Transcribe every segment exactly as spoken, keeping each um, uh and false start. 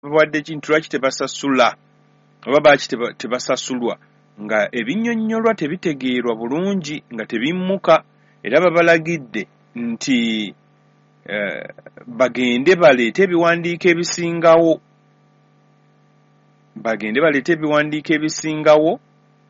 Babawadde ki nti lwaki tebasasula oba baaki tebasasulwa, nga ebinnyonnyolwa tebitegeerwa bulungi, nga tebimmuka. Era babalagidde nti eh, bagende baleete ebiwandiiko ebisingawo, bagende baleete ebiwandiiko ebisingawo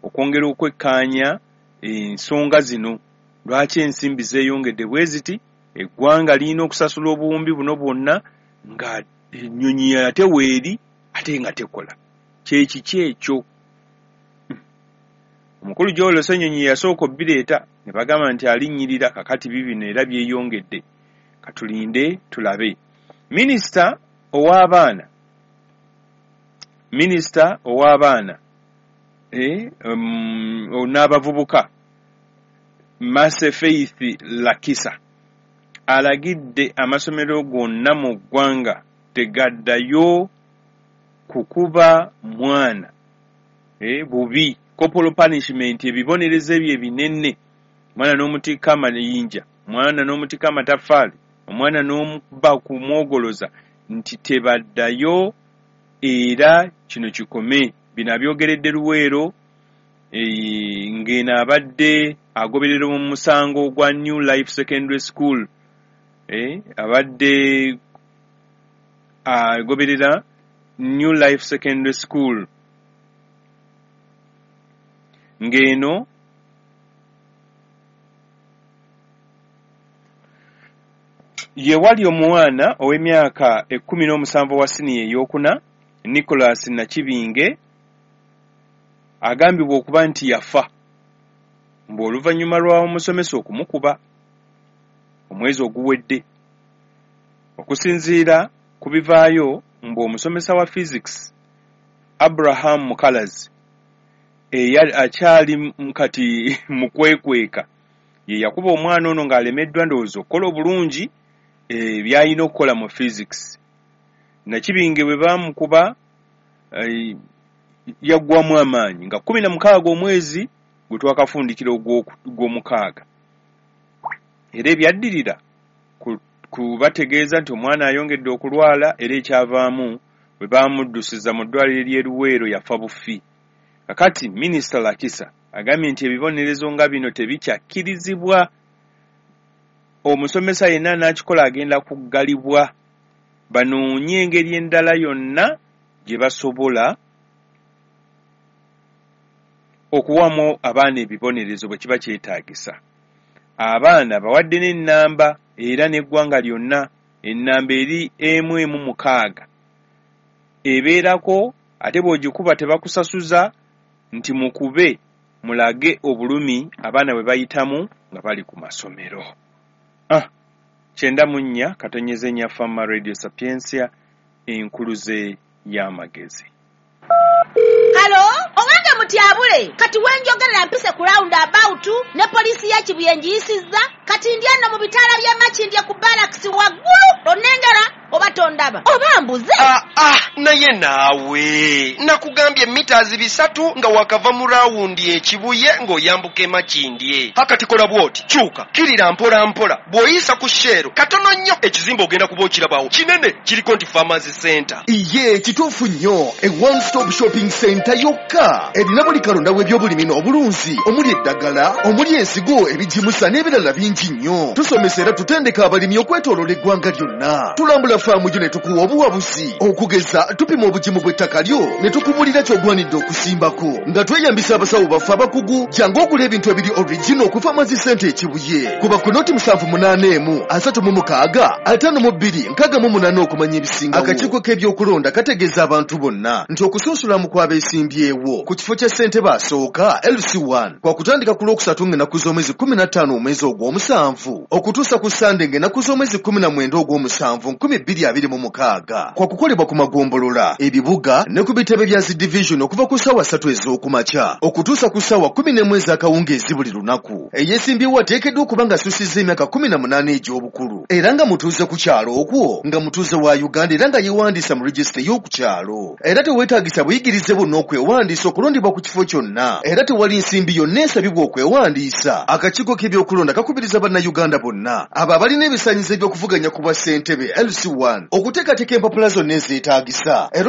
okwongera okwekkaanya ensonga zino. Lwaki ensimbi zeeyongedde bwe ziti? Eggwanga lirina okusasula obuwumbi buno bwonna nga ennyonyi ate weeri ate nga tekola. Kyekiki ekyo? Omukulu Joel Ssenyonyi yasooka obbireeta ne bagamba nti alinnyirira, kakati bibino era byeyongedde. Katulinde tulabe. Minisita ow'abaana, minisita ow'abaana eh, um, n'abavubuka Mercy Faith Lakisa alagidde amasomero gonna mu ggwanga tegaddayo kukuba mwana eh, bubi, corporal punishment, ebibonerezo ebyo ebinene, omwana n'omutikka amayinja, omwana n'omutikka amataffaali, omwana n'omukuba kumwogoloza, nti tebaddayo era kino kikome. Bino abyogeredde Luweero e, ng'eno abadde agoberera mu musango gwa New Life Secondary School, eh, abadde agoberera New Life Secondary School ng'eno ye wali omwana ow'emyaka ekkumi n'omusanvu wa siniya ey'okuna Nicholas Nakibinge agambibwa okuba nti yafa mbu oluvannyuma lwa omusomesa okumukuba omwezi oguwedde. Okusinziira ku bivaayo, mbu omusomesa wa physics Abraham Mukalazi eya akyali kati mu kwekweka ye yakuba omwana ono ng'alemeddwa ndowooza okukola obulungi by'alina okukola mu physics. Nakibinge bwe baamukuba yaggwamu amaanyi nga kkumi na mukaaga omwezi gwe twakafundikira ogw'omukaaga. Era ebyaddirira kubategeeza nti omwana ayongedde okulwala, era ekyavaamu bwe baamuddusiza mu ddwaliro ly'e Luweero yafa bufi. Kakati Minisita Lakisa agambye nti ebibonerezo nga bino tebikyakkirizibwa, omusomesa yenna anaakikola agenda kuggalibwa, banoonye engeri endala yonna gye basobola okuwamu abaana ebibonerezo bwe kiba kyetaagisa. Abaana bawadde n'ennamba era n'eggwanga lyonna, ennamba eri emu emu mukaaga ebeerako, ate bw'ogikuba tebakusasuza, nti mukube mulage obulumi abaana bwe bayitamu nga bali ku masomero. Ah, kyenda mu nnya katonyeze nnya Fama Radio Sapientia, enkuluze y'amagezi. Halo, owange mutyabule, kati wenjogerera mpise ku round about ne poliisi ya Kibuye ngiyisizza, kati ndi eno mu bitaala by'e Makindye ku barracks waggulu, onnengera oba tondaba oba mbuze? Ah, ah, naye naawe nakugambye mitazi bisatu nga wakava mu rawundi e Kibuye ng'oyambuka e Makindye. Hakati kola bw'oti, kyuka kirira mpola mpola, bw'oyisa ku Shell katono nnyo ekizimbe ogenda kuba okirabawo kinene, kiriko nti Farmers Center. Iye kituufu nnyo, e one stop shopping center yokka erina buli kalonda w'ebyobulimi n'obulunzi, omuli eddagala, omuli ensigo, ebigimusa n'ebirala bingi nnyo. Tusomesa era tutendeka abalimi okwetooloola eggwanga lyonna. Tulambula faamu yo ne tukuwa obuwabuzi, okugeza tupima obugimu bw'ettaka lyo ne tukubulira ky'ogwanidde okusimbako nga tweyambisa abasawo baffe abakugu. Jangu ogula ebintu ebiri original ku Farmers Center e Kibuye. Kuba ku noti musanvu munaana emu asatu mu mukaaga ataano mu bbiri nkaaga mu munaana okumanya ebisingawo. Akakiiko k'ebyokulonda kategeeza abantu bonna nti okusunsulamu kw'abeesimbyewo ku kifo kya ssentebe asooka L C one kwa kutandika ku Lwokusatu ng'ennaku z'omwezi kkumi na ttaano omwezi ogw'omusanvu okutuusa ku Sande ng'ennaku z'omwezi kkumi na mwenda ogw'omusanvu nkumi bbiri abiri mu mukaaga. Kwa kukolebwa ku magombolola, ebibuga ne ku bitebe bya zi division okuva ku ssaawa ssatu ez'okumakya okutuusa ku ssaawa kkumi n'emu ez'akawungeezi buli lunaku. Eyeesimbyewo ateekeddwa okuba ng'asusizza emyaka kkumi na munaana egy'obukulu era nga mutuuze ku kyalo okwo, nga mutuuze wa Uganda era nga yeewandiisa mu regisita ey'oku kyalo. Era teweetaagisa buyigirize bwonna okwewandiisa okulondebwa ku kifo kyonna, era tewali nsimbi yonna esabibwa okwewandiisa. Akakiiko k'ebyokulonda kakubiriza Bannayuganda bonna abo abalina ebisaanyizo eby'okuvuganya ku bwa ssentebe L C one okuteekateeka empapula zonna ezeetaagisa. ettaka era.